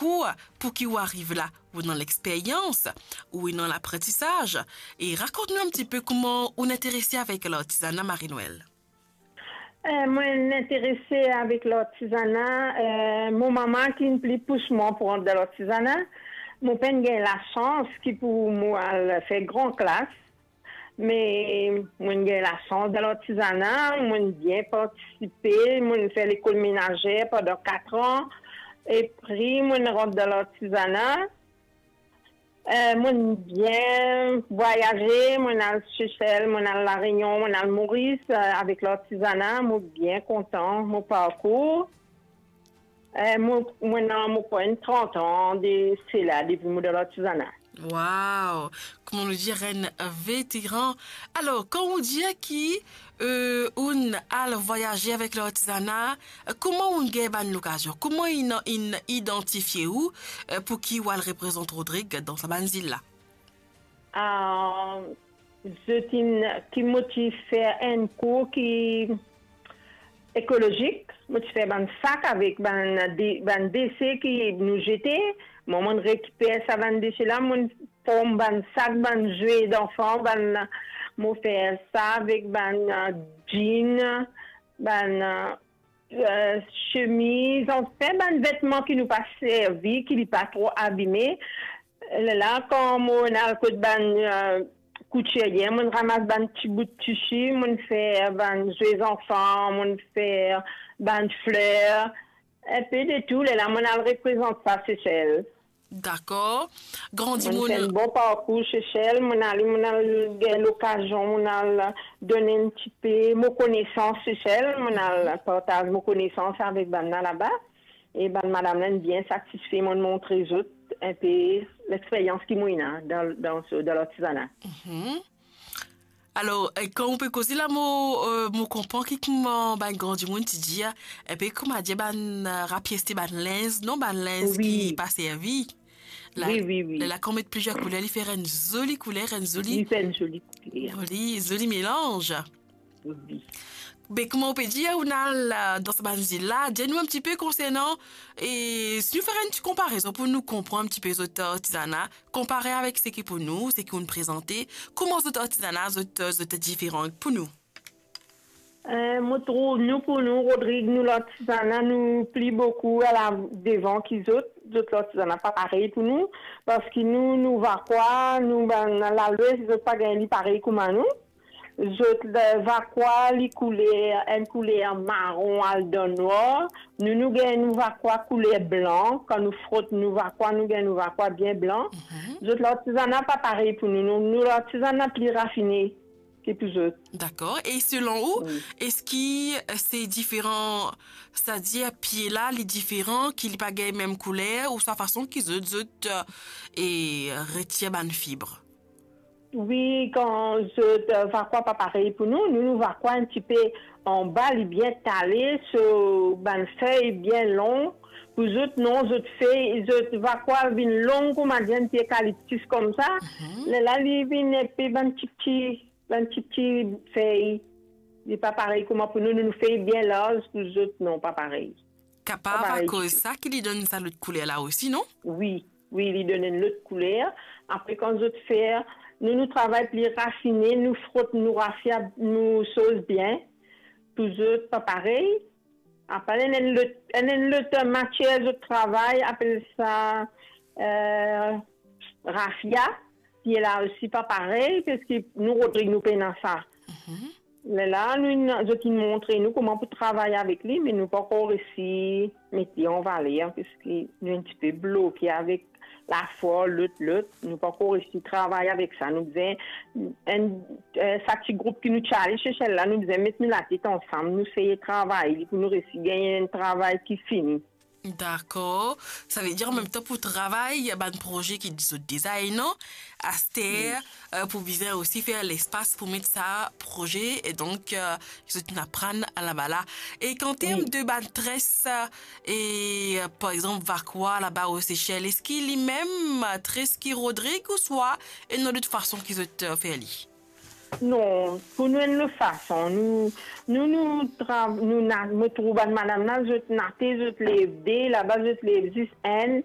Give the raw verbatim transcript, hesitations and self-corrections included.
parkour pou ki ou ariv la, ou ena lexperyans, ou ena lapratisaz. E rakont nou enn tipe kouma ou interese avek lartizana, Marie-Noëlle. Eh, mwa, interese avek lartizana, eh, mo mama ki pli pous mwa pou rant dan lartizana. Mo pa'nn gagn lasans ki pou mo al fer gran klas, me mo'nn gagn lasans dan lartizana, mo'nn bien partisipe, mo'nn fer lekol menazer pandan kat an, e apre mo'nn rant dan lartizana. Eh, mo'nn bien vwayaze, mo'nn al Sesel, mo'nn al La Réunion, mo'nn al Moris, eh, avek lartizana, mo bien kontan mo parkour. Eh, mo, mo ena, mo pran trant an de sela, depi mo dan lartizana. Wow! Kouma nou dir, enn veteran. Alor, kan ou dir ki, eh, ou'nn al vwayaze avek lartizana, kouma ou'nn gagn bann lokazion? Kouma inn, inn idantifie ou, eh, pou ki ou al reprezant Rodrig dan sa bann zil la? Ah, zot inn, ki mo ti fer enn kour ki ekolozik, mo ti fer bann sak avek bann de-, bann dese ki nou zete. Mwa, mo'nn rekiper sa bann dese la, mo'nn form bann sak, bann zwe zanfan, bann, mo fer sa avek bann, eh, jean, bann, eh, eh, semiz, anfin bann vetman ki nou pa servi, ki li pa tro abime. Lerla, kan mo'nn al kot bann, eh, koutirie, mo'nn ramas bann ti bout tisi, mo'nn fer bann zwe zanfan, mo'nn fer bann fler, enpe de tou. Lerla mo'nn al reprezant sa Sesel. Dakor. Grandi, mo'nn fer enn bon parkour Sesel, mo'nn al, mo'nn al gagn lokazion, mo'nn al donn enn tipe mo konesans Sesel, mo'nn al partaz mo konesans avek bann la laba. E bann madam la inn bien satisfe, mo'nn montre zot enpe lexperyans ki mo ena dan, dan so, dan lartizana. Mhm. Alor, eh, kan ou pe koze la, mo, eh, mo konpran ki kouma bann gran dimoun ti dir, enpe kouma dir bann, eh, rapieste bann linz, non, bann linz ki pa servi. La, wi, wi, wi. La, kan ou met plizier kouler, li fer enn zoli kouler, enn zoli, li fer enn zoli kouler, zoli, zoli melanz. Wi. Be, kouma ou pe dir, ou'nn al, eh, dan sa bann zil la, dir nou enn tipe konsernan, e si nou fer enn ti konparezon pou nou konpran enn tipe zot, eh, artizana, konpare avek seki pou nou, seki ou'nn prezante, kouma zot artizana, zot, zot diferan pou nou? Eh, mo trouv nou, pou nou, Rodrig, nou lartizana, nou pli boukou ala devan ki zot. Zot lartizana pa parey pou nou, parski nou, nou Vakwa, nou bann Lalwes, zot pa gagn li parey kouma nou. Zot, eh, Vakwa, li kouler, enn kouler maron al dan nwar. Nou, nou gagn nou Vakwa kouler blan. Kan nou frot nou Vakwa, nou gagn nou Vakwa bien blan. Mhm. Zot lartizana pa parey pou nou. Nou, nou lartizana pli rafine ki pou zot. Dakor. E selon ou, wi, eski, eh, se diferan, setadir pie la, li diferan, ki li pa gagn mem kouler, ouswa fason ki zot, zot, eh, e retir bann fib? Wi, kan zot, eh, Vakwa pa parey pou nou, nou, nou Vakwa enn tipe anba, li bien tale, so bann fey bien long. Pou zot, non, zot fey, zot Vakwa vinn long kouma dir enn pie ekaliptis koumsa. Mhm. Lerla li vinn enpe bann tipti, bann tipti fey. Li pa parey kouma pou nou, nou, nou fey bien larz, pou zot, non, pa parey. Kapav akoz sa ki li donn sa lot kouler la osi, non? Wi, wi, li donn enn lot kouler. Apre, kan zot fer, nou, nou travay pli rafine, nou frot nou rafia, nou soz bien. Pou zot, pa parey. Apre, enn, enn lot, enn, enn lot matier zot travay, apel sa, eh, rafia. Pie la osi pa parey, parski nou, Rodrig, nou pena sa. Mhm. Lerla, nou, zot inn montre nou kouma pou travay avek li, me nou pankor resi met li an valer, parski nou enn tipe bloke avek lafor, lot, lot. Nou pankor resi travay avek sa. Nou bizin, enn, eh, sa ti group ki nou ti ale Sesel la, nou bizin met nou latet ansam, nou seye travay li pou nou resi gagn enn travay ki fini. Dakor. Savedir, an mem tan, pou travay bann proze ki zot deza ena, aster, wi, eh, pou bizin osi fer lespas pou met sa proze, e donk, eh, zot inn aprann laba la. E kan term, wi, de bann tres, eh, e, eh, par exanp, Vakwa laba o Sesel, eski li mem, eh, tres ki Rodrig, ouswa ena lot fason ki zot, eh, fer li? Non, pou nou enn lot fason, nou, nou, nou, tra, nou na, mo trouv bann madam la, zot nate, zot lev de, laba zot lev zis enn,